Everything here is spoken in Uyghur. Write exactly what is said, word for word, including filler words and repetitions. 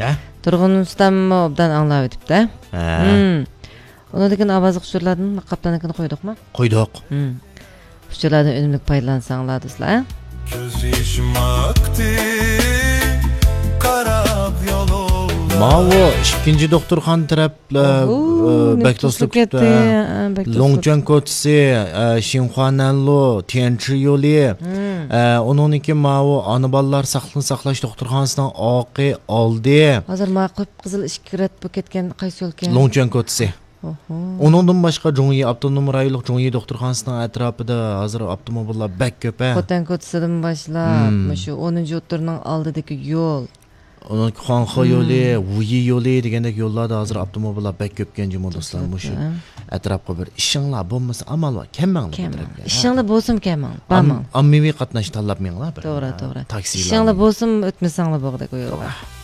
ھە؟ تۇرغۇن ئۇستاممۇ ئوبدان ئاڭلاۋېتىپتۇ. ھە. ھىم. ئۇنىڭدىن كېيىن ئاۋازلىق ئۇچۇرلاردىن قاپتاندىن كېيىن قويدۇقمۇ؟ قويدۇق. ھىم. ئۇچۇرلاردىن ئۈنۈملۈك پايدىلانساڭلار، دوستلار. كۆز يېشىم ئاقتى، قاراپ يولۇڭغا. ماۋۇ ئىككىنچى دوختۇرخانا تەرەپلەر، ئوھۇ، ئە، بەك توسۇلۇپ كەتتى. ھە، بەك توسۇلۇپ لوڭچۈەن كەتتى. كوچىسى، ئە، شىنخۇانەنلۇ، تيەنچى يولى، ھىم. ئە، ئۇنىڭدىن كېيىن ماۋۇ ئانا بالىلار ساقلىقنى ساقلاش دوختۇرخانىسىنىڭ ئارقا ئالدى. ھازىر ما قىپقىزىل ئىككى رەت بولۇپ كەتكەن قايسى يولكەن؟ لوڭچۈەن كوچىسى. ئوھو. ئۇنىڭدىن باشقا جۇڭيى ئاپتونوم رايونلۇق جۇڭيى دوختۇرخانىسىنىڭ ئەتراپىدا ھازىر ئاپتوموبىللار بەك كۆپ، ھە. خوتەن كوچىسىدىن باشلاپ، ھىم. مۇشۇ ئونىنچى ئوتتۇرىنىڭ ئالدىدىكى يول. ئۇنىڭ خۇاڭخې ھىم. يولى، ۋۇيى يولى دېگەندەك يوللاردا ھازىر ئاپتوموبىللار بەك كۆپكەن جۇمۇ دوستلار. مۇشۇ توسۇلۇپتۇ، ھە. ئەتراپقا بىر ئىشىڭلار بولمىسا ئامال بار، كەلمەڭلار بۇ كەلمەڭ. تەرەپكە، ھە. ئىشىڭلار بولسىمۇ كەلمەڭ، ئام-، بارماڭ. ئاممىۋى قاتناش تاللاپ مېڭىڭلار بىر. توغرا، توغرا. تاكسىلارنى. ئىشىڭلار بولسىمۇ ئۆتمىسەڭلار بولغۇدەك ئۇ يولغا. توغرا.